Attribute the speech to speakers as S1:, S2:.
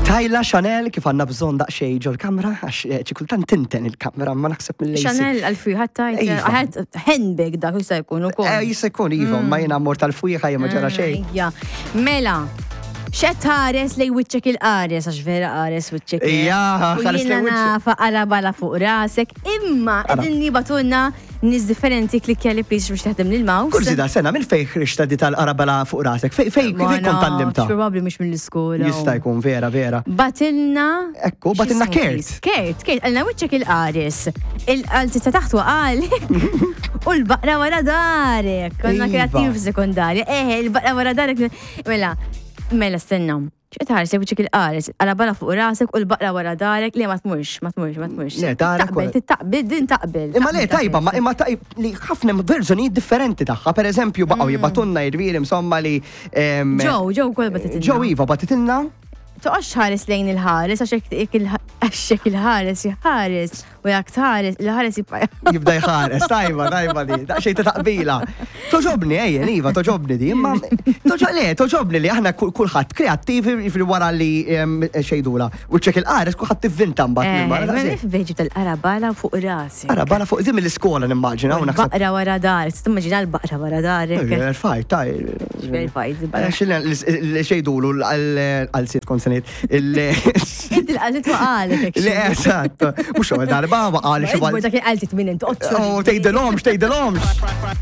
S1: Tajla Chanel kif għandna bżonn daqsxejn ġol-kamra għax eh, xi kultant tinten il-kamra ma naħseb mill
S2: Chanel għal-fwieħa tajt.
S1: Iva.
S2: Ħadd handbag dak jista' jkun ukoll.
S1: Eh, jista' jkun iva, ma jiena mort tal-fwieħa jien ma ġara xejn.
S2: Ejja. Mela, x'qed tħares lej wiċċek il-qares għax vera qares wiċċek. eh.
S1: Ija,
S2: U
S1: ħares
S2: jiena
S1: lej wiċċek.
S2: nafa qara bala fuq rasek, imma qegħdin jibatulna nies differenti klikkja li please biex taħdem lil mouse.
S1: Kurżità sena minn fejn ħriġta di tal-qarabala fuq rasek? Fejn fejn
S2: Ma
S1: kont
S2: nafx,
S1: tgħallimtha?
S2: Probabbli mhux mill-iskola.
S1: Jista' jkun vera vera.
S2: Batilna.
S1: Ekku, batilna
S2: X'ismu
S1: Kurt.
S2: please? Kurt, Kurt, għalna wiċċek il-qares. Il-qalzi ta' taħt waqalek. U l-baqra wara darek. Konna
S1: Iva.
S2: kreattiv f'sekondarja. Eh, il-baqra wara darek. Mela, mela stenna. X'qed tħares wiċċek il-qares, għala bala fuq rasek u l-baqra wara darek, le ma tmurx, ma tmurx, ma tmurx.
S1: Le, darek
S2: Taqbel,
S1: wara-
S2: taqbel, din taqbel.
S1: Imma le
S2: taqbel,
S1: tajba, ma
S2: taqbel.
S1: imma tajb li ħafna hemm verżjonijiet differenti tagħha. Per eżempju, baqgħu jibatunna jirviri insomma li. em,
S2: Ġew, ġew kol batitilna.
S1: Ġew Iva batitilna.
S2: Toqgħodx ħares lejn il-ħares għax hekk il- għax hekk il-ħares jħares U jak tħares, il-ħares jibqa'
S1: Jibda jħares, tajba, tajba di, daqsxejn ta' taqbila. Toġobni, ejjen, iva, toġobni di, imma toġo- le, toġobni li aħna kulħadd kreattivi jiġifieri wara li xejdula. U ċek il-qares kulħadd tivvinta mbagħad minn barra.
S2: Eh, Ma
S1: daqshekk.
S2: nif veġi tal-qara bala fuq rasi.
S1: Ara, bala fuq di mill-iskola nimmaġina u naħseb.
S2: Baqra wara dar, timmaġina l-baqra wara darek.
S1: Fajt, taj.
S2: Fajt, il-baqra.
S1: Xil xejdulu għal-sit konsenit.
S2: Inti l-qalti waqalek.
S1: Le, eżatt. Mux għal darba, waqal xi
S2: Dak il-qalti minn inti.
S1: Oh, tgħidilhomx, tgħidilhomx.